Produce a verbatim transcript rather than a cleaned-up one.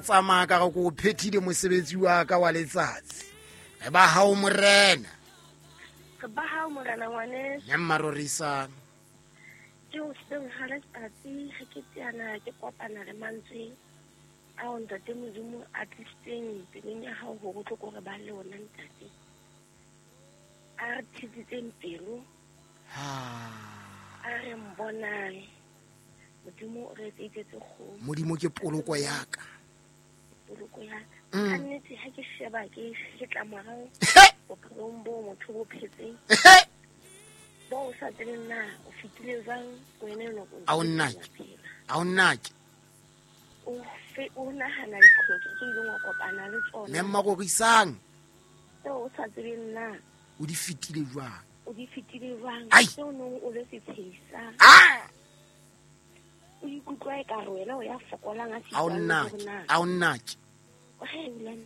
Tsamaya ka re ko o phethile mosebetsi wa ka wa letsatsi. Re ba hao morena. Re ba hao morena ngwaneso. Mme mmarorisang. Ke hoseng ha letsatsi ha ke teana ke kopana le mantswe ao ntate Modimo a tlisitseng pelong ya hao hore o tlo ko re ba le ona ntate. A re thetsitseng pelo. Ha. A re mbonang. Modimo o re etseditse tse kgolo. Modimo ke poloko ya ka. Poloko ya ka. Mm. Ka nnete ha ke sheba ke hetla morao bophelong bo motho bo phetseng. Bo o sa tsebeng na o fetile jwang wena enwa o A o ntse o nnake. phela. A o nnake. O fe o nahana diqholotso tse ileng wa kopana le tsona. Mme mmarorisang. Tseo o sa tsebeng na O di fetile jwang? O di fetile jwang? Ai. Tseo nong o le setshehisa. Ah! O ikutlwa ekare wena o ya fokolang a A o sitwang le nnake. hore na. A o nnake. He, Ulane.